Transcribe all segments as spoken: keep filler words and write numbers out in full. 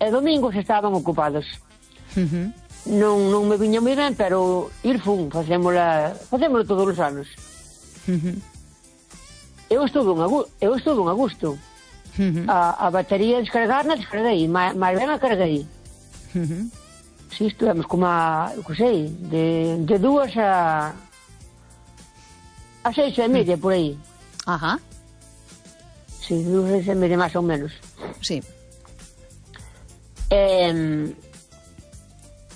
e domingos estaban ocupados. Uh-huh. Non, non me viña moi ben, pero ir fun, facémola, facémolo todos os anos. Uh-huh. Eu estuve un a, eu estuve un a gusto. Uh-huh. A, a batería descargar na descarguei, máis ben a carguei. Uh-huh. Si, estuvemos como a, eu que sei, de, de dúas a a seis e media, por aí. Ajá. Si, sí, dúas a seis e media, máis ou menos. Sí. Eh,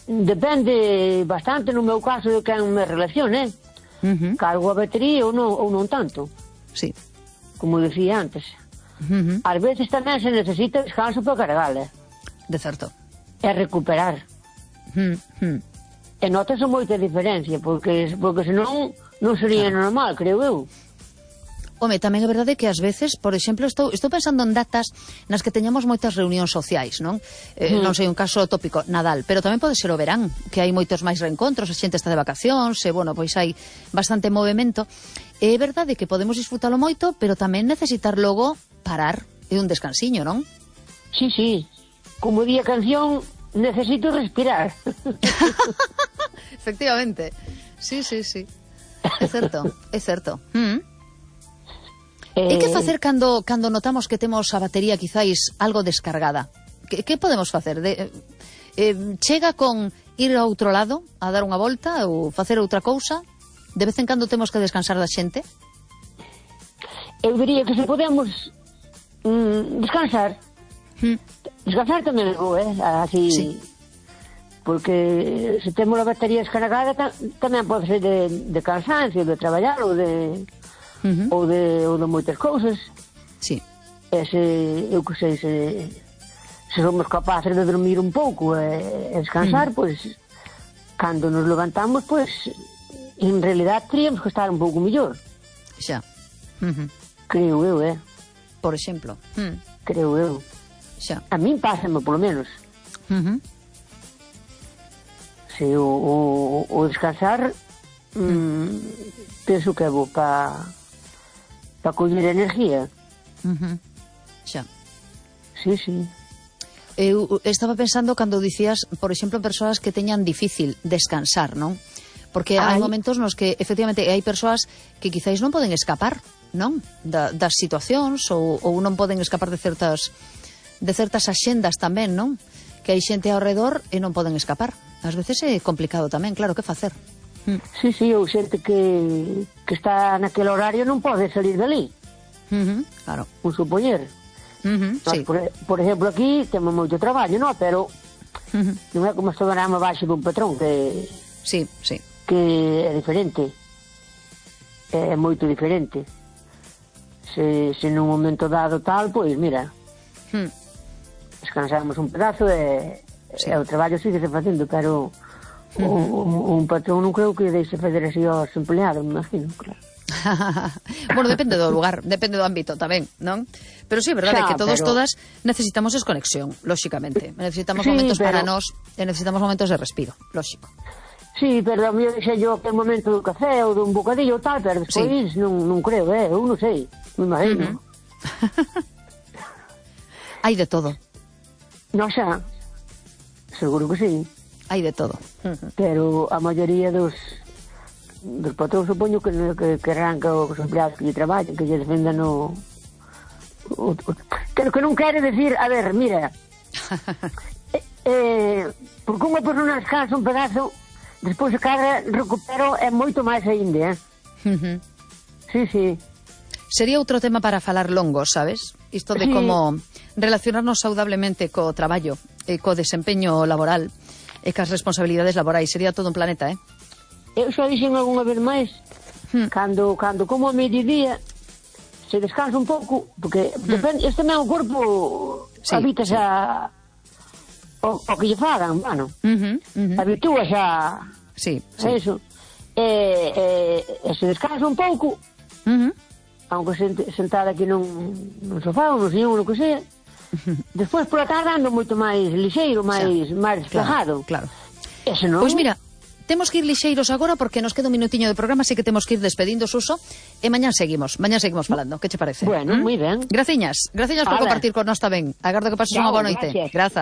depende bastante, no meu caso, de quen me relacione. Uh-huh. Cargo a batería ou non, ou non tanto. Sí. Como decía antes. Uh-huh. Ás veces tamén se necesita descanso para cargala. De certo. E recuperar. Uh-huh. E notas moita diferencia, porque, porque senón non sería claro. Normal, creo eu. Home, tamén é verdade que ás veces, por exemplo, estou, estou pensando en datas nas que teñamos moitas reunións sociais, non? Eh, mm. Non sei, un caso tópico, Nadal, pero tamén pode ser o verán, que hai moitos máis reencontros, a xente está de vacacións, e, bueno, pois hai bastante movimento. É verdade que podemos disfrutalo moito, pero tamén necesitar logo parar e un descansiño, non? Sí, sí. Como di a canción, necesito respirar. Efectivamente. Sí, sí, sí. É certo, é certo. Mm. E que facer cando, cando notamos que temos a batería quizáis algo descargada? Que, que podemos facer? De, eh, chega con ir a outro lado a dar unha volta ou facer outra cousa? De vez en cando temos que descansar da xente? Eu diría que se podemos mm, descansar. Mm. Descansar tamén é bo, eh? Así... Sí. Porque se temos a batería descargada ta, tamén pode ser de, de cansancio, de traballar ou de uh-huh. ou de ou de moitas cousas. Sí. E se, eu que sei, se, se somos capaces de dormir un pouco e, e descansar, uh-huh. pois cando nos levantamos, pois en realidad teríamos que estar un pouco mellor. Xa. Uh-huh. Creo eu, eh? Por exemplo. Uh-huh. Creo eu. Xa. A min pásame, polo menos. Uh-huh. Se o, o, o descansar mm, penso que é bo para pa coller energía. Uh-huh. Xa. Sí, sí. Eu estaba pensando cando dicías, por exemplo, persoas que teñan difícil descansar, non? Porque hai, hai momentos nos que efectivamente hai persoas que quizáis non poden escapar, non? Da, das situacións ou, ou non poden escapar de certas de certas axendas tamén, non? Que hai xente ao redor e non poden escapar. Ás veces é complicado tamén, claro, que facer? Mm. Sí, sí, ou xente que, que está naquele horario non pode salir dali. Uh-huh, claro. Un supoñer. Uh-huh, Nos, sí. por, por exemplo, aquí temos moito traballo, non? Pero uh-huh. non é como estou ganando baixo dun patrón, que... Sí, sí. Que é diferente. É moito diferente. Se, se nun momento dado tal, pois, mira... Hmm. Descansamos un pedazo e, sí. e o traballo sigue se facendo, pero uh-huh. un, un patrón non creo que deixe fazer así aos empleados, me imagino, claro. Bueno, depende do lugar, depende do ámbito tamén, non? Pero sí, é verdade xa, que todos, pero... todas necesitamos desconexión, lóxicamente. Necesitamos sí, momentos pero... para nós e necesitamos momentos de respiro, lóxico. Sí, pero a mí deixei yo aquel momento do café ou dun bocadillo tal, pero despois sí. non, non creo, eh? Eu non sei, me imagino. Uh-huh. Hai de todo. Non xa, seguro que sí. Hai de todo. Uh-huh. Pero a maioría dos dos patrón supoño que, que, que arranca os empleados que lle traballan, que lle defendan o, o, o que, que non quere decir, a ver, mira eh, eh, porque unha persona descansa un pedazo, despois a cara recupero é moito máis ainda, eh? Uh-huh. Sí, sí. Sería outro tema para falar longo, sabes? Isto de sí. Como relacionarnos saudablemente co traballo e co desempeño laboral e cas responsabilidades laborais. Sería todo un planeta, eh? Eu xa dixen algunha vez máis hmm. cando, cando como a mediodía se descansa un pouco, porque hmm. depende, este meu corpo sí, habita xa sí. o, o que lle fagan, bueno, uh-huh, uh-huh. habitúa xa sí, sí. a eso e, e, e se descansa un pouco uh-huh. aunque sentada aquí nun, nun sofá ou nun sillón ou no que sea uh-huh. despois pola tarde ando moito máis lixeiro, máis, máis despejado, claro, claro. Pois non... pues mira, temos que ir lixeiros agora porque nos queda un minutiño de programa, así que temos que ir despedindo, Suso, e mañán seguimos, mañán seguimos falando. Que che parece? Bueno, ¿Mm? Moi ben. Graciñas, graciñas por compartir con nós tamén. Agardo que pases unha boa noite. Grazas.